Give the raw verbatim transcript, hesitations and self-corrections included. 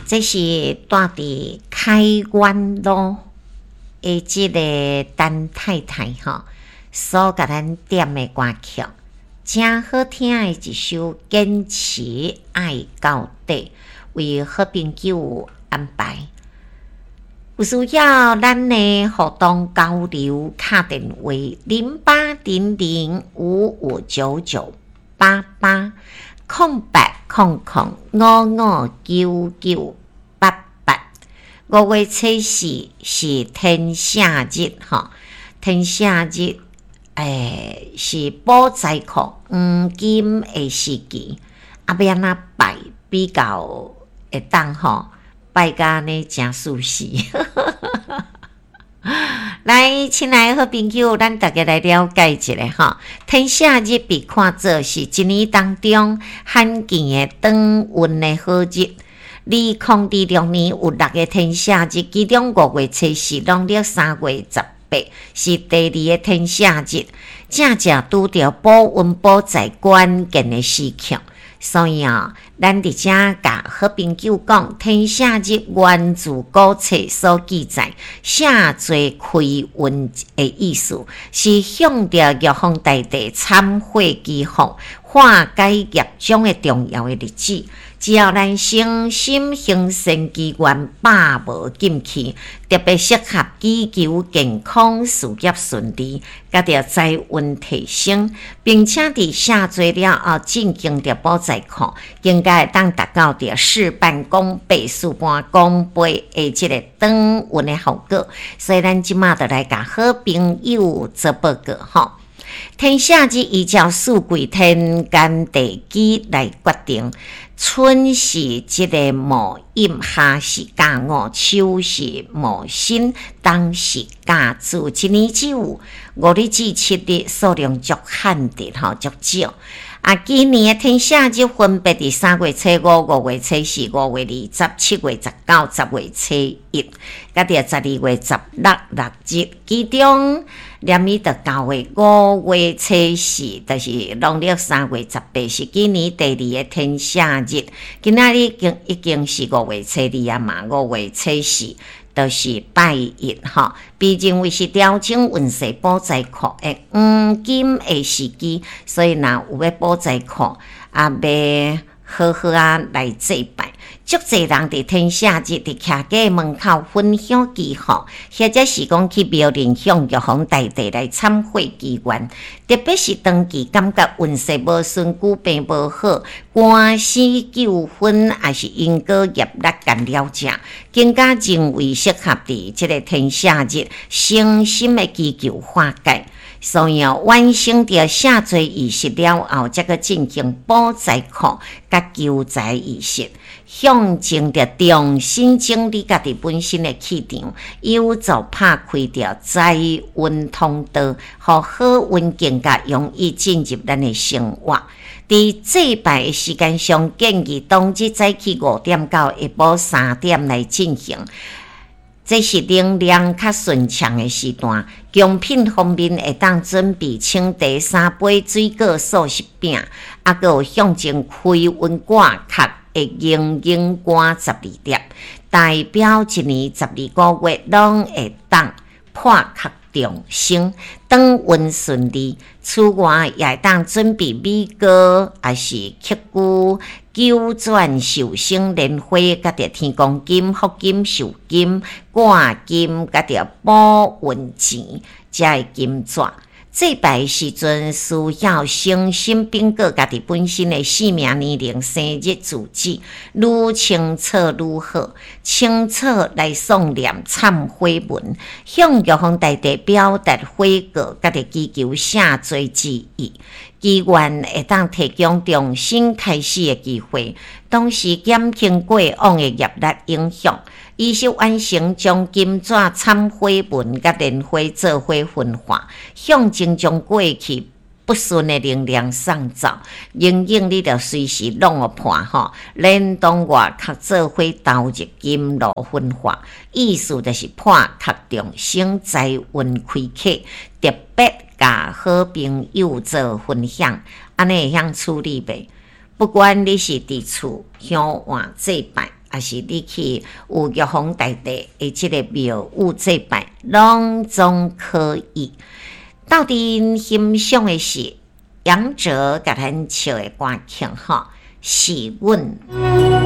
這是住佇開元路的這个陳太太吼，所共咱點的歌曲，誠好聽的一首《堅持愛到底》，為好朋友安排。有需要咱的互動交流，敲電話零八零零五五九九八八空八空空五五九九八八。五月初四是天赦日，吼，天赦日，欸，是補財庫黃金的時期，啊，欲按怎拜比較會當吼？拜甲按呢誠舒適。來，親愛的好朋友，咱逐家來了解一下吼。天赦日被看做是一年當中罕見的轉運的好日。二零二六年有六个天赦日，其中五月初四、農曆三月十八是第二个天赦日，正正拄著補運補財關鍵的時刻。所以啊，咱佇遮共好朋友講，天赦日源自古冊所記載，赦罪開運的意思，是向著玉皇大帝懺悔祈福、化解業障的重要的日子。只要咱誠心行善祈願，百無禁忌，特別適合祈求健康、事業順利，佮著財運提升，並且佇赦罪了後進行著補財庫，更加會當達到著事半功倍、事半功倍的這个轉運的效果。所以咱這馬就來共好朋友做報告吼。天赦日依照四季天干地支來決定，春是這个戊寅，夏是甲午，秋是戊申，冬是甲子。一年只有五日至七日，數量足罕的吼，足少。啊，今年的天赦日分別佇三月初五、五月初四、五月二十、七月十九、十月初一，佮著十二月十六六日。其中，連伊著九月五月初四，就是農曆三月十八，是今年第二个天赦日。今仔日已經已經是五月初二啊嘛，五月初四就是拜一吼，被認為是調整運勢補財庫的黃金的時機，所以若有欲補財庫，啊，欲好好仔來祭拜。足濟人佇天赦日佇徛家門口焚香祈福，或者是講去廟裡向玉皇大帝來懺悔祈願。特別是長期感覺運勢無順、久病無好、官司糾紛，抑是因果業力干擾者，更加認為適合佇這个天赦日誠心的祈求化解。所以哦，完成著赦罪儀式了後，才閣進行補財庫佮求財儀式，象徵著重新整理家己本身的氣場，有助拍開著財運通道，予好運更加容易進入咱的生活。佇祭拜的時間上，建議當日早起五點到下晡三點來進行。這是能量較順暢的時段，貢品方面會當準備清茶三杯、水果、素食餅，啊，閣有象徵開運掛殼的銀銀柑十二粒，代表一年十二個月攏會當破殼重生，轉運順利。此外，也會當準備米糕，抑是曲龜、九轉壽星蓮花，佮著天公金、福金、壽金、掛金，佮著補運錢，遮的金紙。祭拜的時陣，需要誠心稟告家己本身的姓名、年齡、生日、住址，愈清楚愈好。清楚來誦念懺悔文，向玉皇大帝表達悔過，佮著祈求赦罪之意。祈願會當提供重新開始的機會，同時減輕過往的業力影響。儀式完成，將金紙、懺悔文佮蓮花做伙焚化，象徵將過去不順的能量送走。寧願你著隨時攏予破吼，連同外殼做伙投入金爐焚化，意思就是破殼重生，財運開啟。特別共好朋友做分享，按呢會曉處理袂？不管你是佇厝香換祭拜，抑是你去有玉皇大帝的這个廟宇祭拜，攏總可以。鬥陣欣賞的是楊哲共咱唱的歌曲吼，是阮。